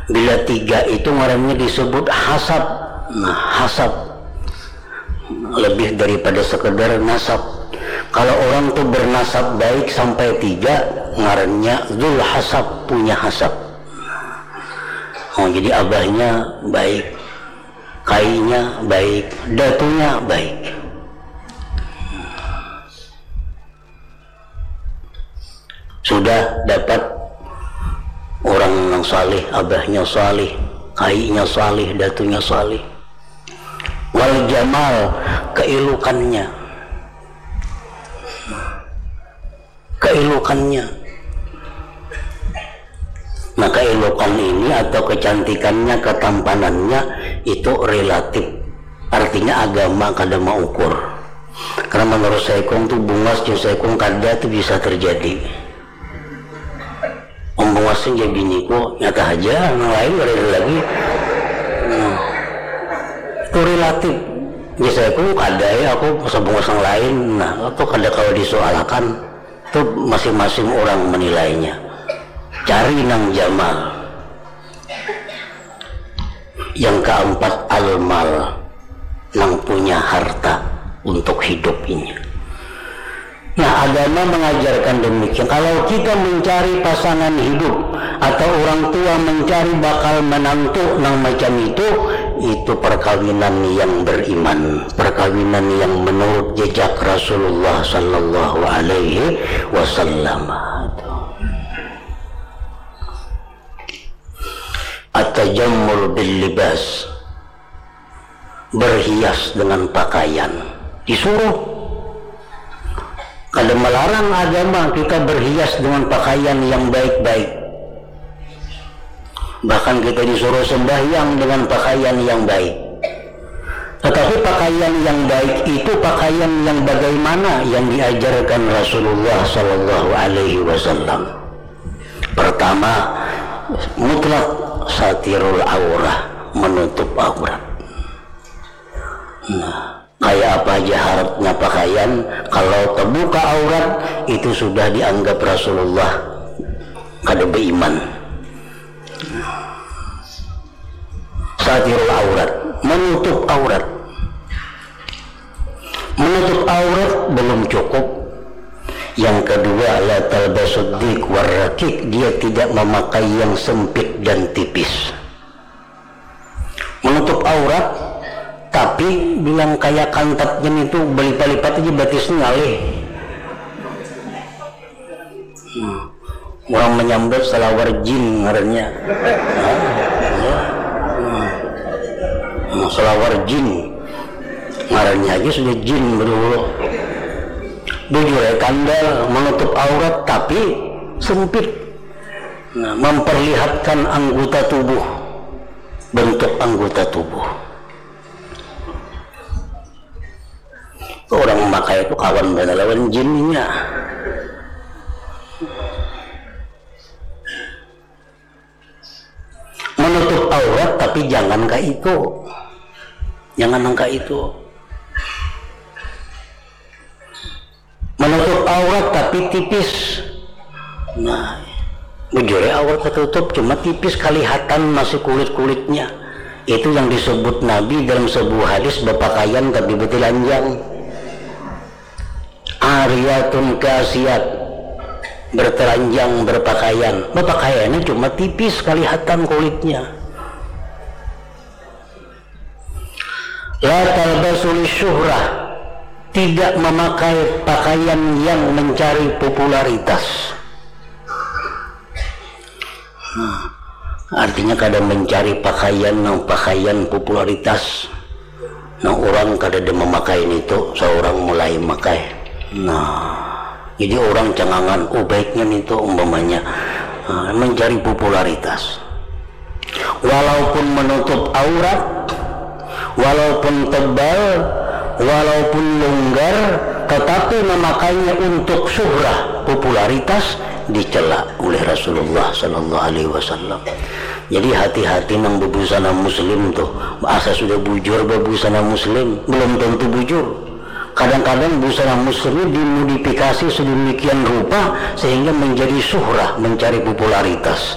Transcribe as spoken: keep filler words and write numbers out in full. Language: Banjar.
Bila tiga itu ngarannya disebut hasab. Nah, hasab lebih daripada sekedar nasab. Kalau orang tuh bernasab baik sampai tiga, ngarannya zul hasab, punya hasab. Oh, jadi abahnya baik, kainya baik, datunya baik. Sudah dapat orang yang salih, abahnya salih, kainya salih, datunya salih. Wal jamal, keilukannya. Keilukannya. Nah, keilukan ini atau kecantikannya, ketampanannya itu relatif. Artinya agama kada maukur. Karena menurut saikung tuh bungas jeung saikung kada tuh bisa terjadi. Om bungas aja biniku nyata aja, yang lain kada ada lagi. Nah, itu relatif. Jadi saikung kada ya aku masa bungas yang lain. Nah, itu kada kalau disoalakan. Itu masing-masing orang menilainya. Cari nang jamal. Yang keempat, al-mal, nang punya harta untuk hidup ini. Nah, agama mengajarkan demikian. Kalau kita mencari pasangan hidup atau orang tua mencari bakal menantu nang macam itu, itu perkawinan yang beriman, perkawinan yang menurut jejak Rasulullah sallallahu alaihi wasallam. At-tajammul bil libas, berhias dengan pakaian. Disuruh. Kada melarang agama kita berhias dengan pakaian yang baik-baik. Bahkan kita disuruh sembahyang dengan pakaian yang baik. Tetapi pakaian yang baik itu pakaian yang bagaimana yang diajarkan Rasulullah sallallahu alaihi wasallam. Pertama, mutlak satirul aurah, menutup aurat. Nah, kayak apa aja harapnya pakaian, kalau terbuka aurat, itu sudah dianggap Rasulullah kada beriman. Satirul aurat, menutup aurat. Menutup aurat belum cukup. Yang kedua, la talbasud diq warraqiq, dia tidak memakai yang sempit dan tipis. Menutup aurat, tapi bilang kayak kantatnya itu berlipat-lipat aja batisnya ngalih. Hmm. Orang menyambat salawar jin ngarannya. Hmm. Hmm, salawar jin. Ngarannya aja sudah jin berdulu. Bujur ya, kandal menutup aurat tapi sempit. Nah, memperlihatkan anggota tubuh, bentuk anggota tubuh. Orang memakai itu kawan banar lawan jinnya. Menutup aurat tapi jangan kayak itu. Jangan nang kayak itu. Menutup aurat tapi tipis. Nah, bujurnya aurat tertutup cuma tipis kelihatan masih kulit-kulitnya. Itu yang disebut Nabi dalam sebuah hadis berpakaian tapi bertelanjang. Ariyatun kasiat, bertelanjang berpakaian. Berpakaiannya cuma tipis kelihatan kulitnya. La talbasu syuhrah, tidak memakai pakaian yang mencari popularitas. Nah, artinya kada mencari pakaian nang pakaian popularitas. Nah, orang kada ada memakai itu, seorang mulai makai. Nah, jadi orang cangangan, oh baiknya itu umpamanya, nah, mencari popularitas. Walaupun menutup aurat, walaupun tebal, walaupun longgar, tetapi memakainya untuk syuhrah, popularitas, dicela oleh Rasulullah sallallahu alaihi wasallam. Jadi hati-hati nang bebusana muslim tuh. Asa sudah bujur bebusana muslim, belum tentu bujur. Kadang-kadang busana muslim ini dimodifikasi sedemikian rupa sehingga menjadi syuhrah, mencari popularitas.